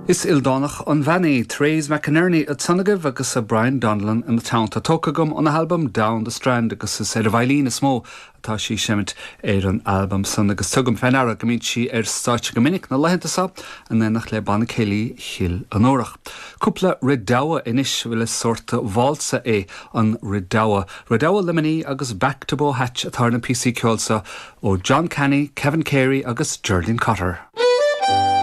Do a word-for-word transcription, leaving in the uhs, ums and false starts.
Is ildánach an bhean í Therese McInerney ansan agaibh agus a Brian Donnellan ina teannta tógtha agam óna halbam Down the Strand agus is ar an veidhlín is mó atá sí ag seimint ar an albam san agus tugaim faoi deara go mbíonn sí ar stáitse go minic na laethanta seo in éineacht le Banna Céilí Chill an Órach. Cúpla redowa anois bhfuil is sórt válsa é an redowa. Redowa Luimnigh agus Back to Bohatch atá na píosaí ceoil seo ó John Canny, Kevin Carey agus Geraldine Cotter.